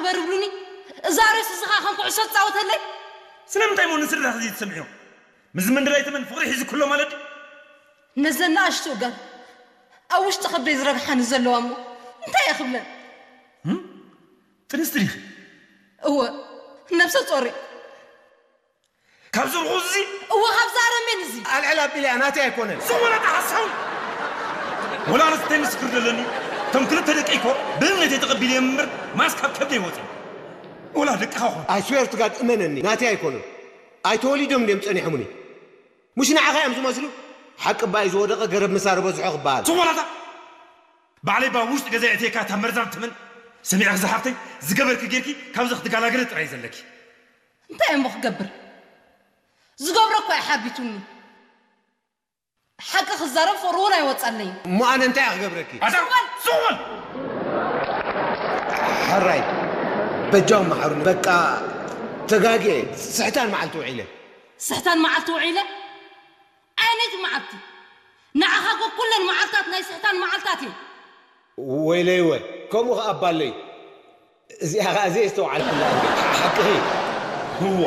እምበር ይብሉኒ። እዛ ሬስ እዚ ኸዓ ከም ኩዕሶ ትጻወተለይ። ስለምንታይ እሞ ንስድራኺ ዘይትሰምዕዮ? ምስዚ መንደላይ ተመን ፍቕሪ ሒዙ ክሎ ማለት ድዩ? ነዘን ንኣሽቱ እገር ኣብ ውሽጢ ከብደይ ዝረግሓኒ ዘለዋ እሞ እንታይ እየ ክብለን? እም? ጥንስቲ ዲኺ? እወ፣ ነብሰ ጾር እየ። ካብ ዝርኹ እዚ? እወ፣ ካብዚ ኣረሜን እዚ። ኣልዕል ኣቢለያ ናተይ ኣይኮነን። ዝወለደ ሓሳዊ! ወላ ኣነስ እንታይ ምስክር ዘለኒ? እቶም ክልተ ደቀይ እኮ ብእምነተይ ተቐቢለዮም እምበር ማስ ካብ ከብደይ ወፂኦም። ወላ ደቅኻ ኾን። I swear to God እመነኒ፣ ናተይ ኣይኮኑን። ኣይተወሊዶም ድዮም ጸኒሖምኒ? ሙሽ ንዓኻ እዮም ዝመስሉ? ሓቂ እባ እዩ ዝወደቐ ገረብ ምሳር በዝሖ ክበሃል። ዝኾናታ! ባዕለይ እባ ውሽጢ ገዛ የእትየካ እታ መርዛም ትመን። ሰሚዕኺ ዝሓፍተይ፣ ዝገበርኪ ጌርኪ ካብዚ ክትገላገሊ ጥራይ እዩ ዘለኪ። እንታይ እሞ ክገብር? ዝገብሮ እኮ እዩ ሓቢቱኒ። ሓቂ ክዛረብ ፍቕሪ እውን ኣይወጸለይን። እሞ ኣነ እንታይ እየ ክገብረኪ? ኣታ ሱቕ በል! ሕራይ፣ በጃኹም መሓሩኒ። በቃ ተጋግየ፣ ስሕታን መዓልቲ ውዒለ። ስሕታን መዓልቲ ውዒለ? ኣየነይቲ መዓልቲ? ንዓኻ እኮ ኩለን መዓልታት ናይ ስሕታን መዓልታት እየን። ወይለይ ወይ፣ ከምኡ ኸኣ እባ ኣለይ። እዚኣ ኸኣ ዘየስተውዓልኩላ እንዴ? ሓቅኺ። እዋ።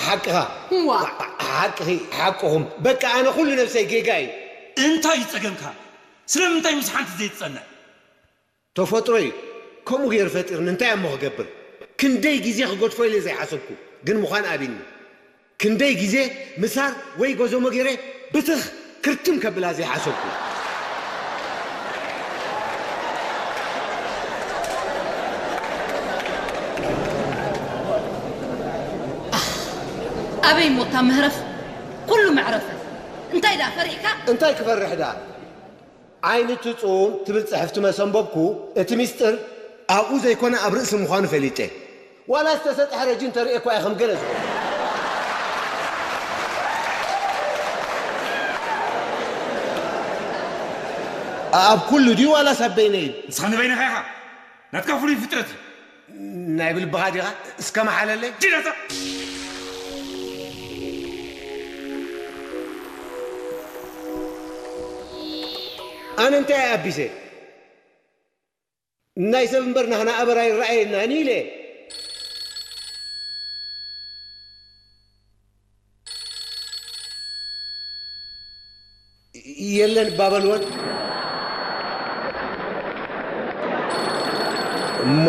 ሓቅኻ። እዋ። ሓቅኺ፣ ሓቅኹም። በቃ ኣነ ኩሉ ነብሰይ ጌጋ እዩ። እንታይ እዩ ጸገምካ? ስለምንታይ ምስ ሓንቲ ዘይትጸንዕ? ተፈጥሮ እዩ። ከምኡ ገይሩ ፈጢርኒ፣ እንታይ እሞ ክገብር? ክንደይ ግዜ ክገድፎ ኢለ ዘይሓሰብኩ፣ ግን ምዃን ኣቢኒ። ክንደይ ግዜ ምሳር ወይ ጎዞሞ ገይረ ብትኽ ክርትም ከብላ ዘይሓሰብኩ። ኣበይ ሞታ መህረፍ? ኩሉ መዕረፈ። እንታይ ደኣ ፈሪሕካ? እንታይ ክፈርሕ ደኣ? ዓይኒ ትጹን ትብል ጽሕፍቲ መሰንበብኩ፣ እቲ ሚስጥር ኣብኡ ዘይኮነ ኣብ ርእሲ ምዃኑ ፈሊጠ። ዋላ ዝተሰጥሐ ረጂ እንተርእየ እኳ እየ ከም ገለ ዝኸውን። ኣብ ኩሉ ድዩ ዋላስ ኣብ በይነይ? ንስኻ ንበይንኻ ኢኻ። ናትካ ፍሉይ ፍጥረት እዩ። ናይ ብልብኻ ዲኻ? እስከ መሓለለይ። ዲላታ! ኣነ እንታይ ኣቢሰ? ናይ ሰብ እምበር ናህና ኣበር ኣይረኣየናን ኢለ። የለን እባ በልወን። እሞ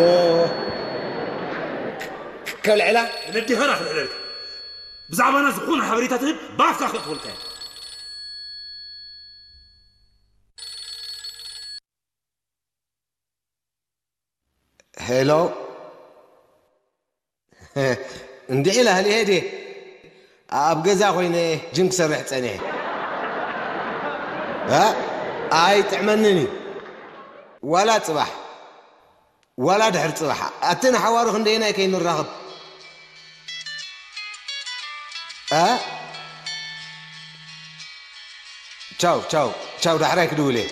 ከልዕላ? ነዲኻ ዳ ክልዕለልካ? ብዛዕባና ዝኾነ ሓበሬታ ትህብ ብኣፍካ ከእትወልካ እየ። ሄሎ። እንዲዒ ላህሊ ሄደ። ኣብ ገዛ ኮይነ ጅም ክሰርሕ ጸኒሐ። እ? ኣይጥዕመንን እዩ። ዋላ ጽባሕ፣ ዋላ ድሕሪ ጽባሕ። ኣተ ንሓዋሩ ክንደየናይ ከይንራኸብ። እ? ቻው፣ ቻው፣ ቻው፣ ዳሕራይ ክድውል እየ።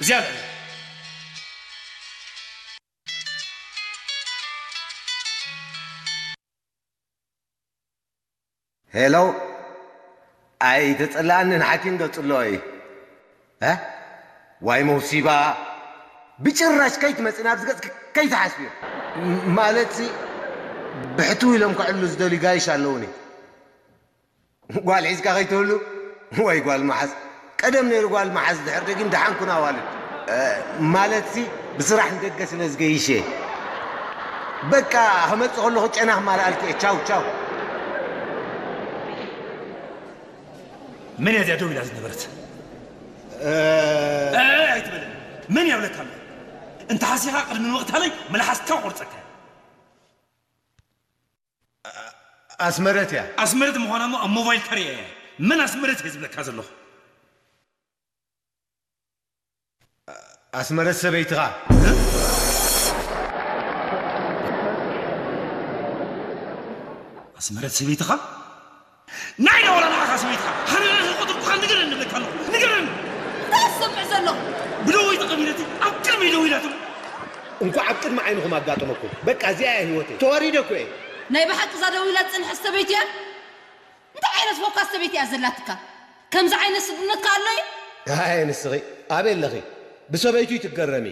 እዚኣ ልዕል። ሄሎ፣ ኣይተጸላኣንን ሓኪም ዶ ጽልኦ እዩ? እ? ዋይ መውሲባ፣ ብጭራሽ ከይትመጽእ ናብዚ ገጽኪ ከይትሓስብዮ። ም-፣ ማለትሲ ብሕትው ኢሎም ከዕሉ ዝደልዩ ጋይሽ ኣለውኒ። ጓል ሒዝካ ከይትህሉ ወይ ጓል መሓዝ። ቀደም ነይሩ ጓል መሓዝ ድሕር ደጊም ደሓን ኩን ኣዋልድ። እ፣ ማለትሲ ብስራሕ ንደገ ስለ ዝገይሽ እየ። በቃ ክመጽእ ከለኹ ጨና ክማልኣልኪ እየ። ቻው ቻው። መን እያ እዚኣ ደው ኢላ ዝነበረት? እ፣ እ፣ ኣይትበለኒ። መን እያ ብለካ ኣለኹ? እንተ ሓሲኻ ቅድሚ ምቕታለይ መልሓስካ ቆርጸካ እየ። ኣስመረት እያ። ኣስመረት ምዃና እሞ ኣብ ሞባይል ከርእያ እየ። መን ኣስመረት እየ ዝብለካ ዘለኹ? ኣስመረት ሰበይትኻ። ኣስመረት ሰበይትኻ? ናይ ዳ ወላ ንዓኻ ሰበይትኻ? ሓረር ዝቆጥርኩኻ ንገረኒ እብለካ ኣለኹ። ንገረኒ! እንታይ ትሰምዕ ዘለኹ? ብደወይ ተቐቢለቲ ኣብ ቅድመይ ደው ኢላትም። እንኳዕ ኣብ ቅድሚ ዓይንኹም ኣጋጠመኩም። በቃ እዚኣ እያ ህይወተይ። ተዋሪደ እኮ እየ። ናይ ብሓቂ እዛ ደው ኢላ ዝጸንሐት ሰበይቲ እያ? እንታይ ዓይነት ፎካስ ሰበይቲ እያ ዘላትካ? ከምዚ ዓይነት ስድነትካ ኣሎ እዩ? ኣይ ንስኺ ኣበይ ኣለኺ? ብሰበይቱ ትገረሚ።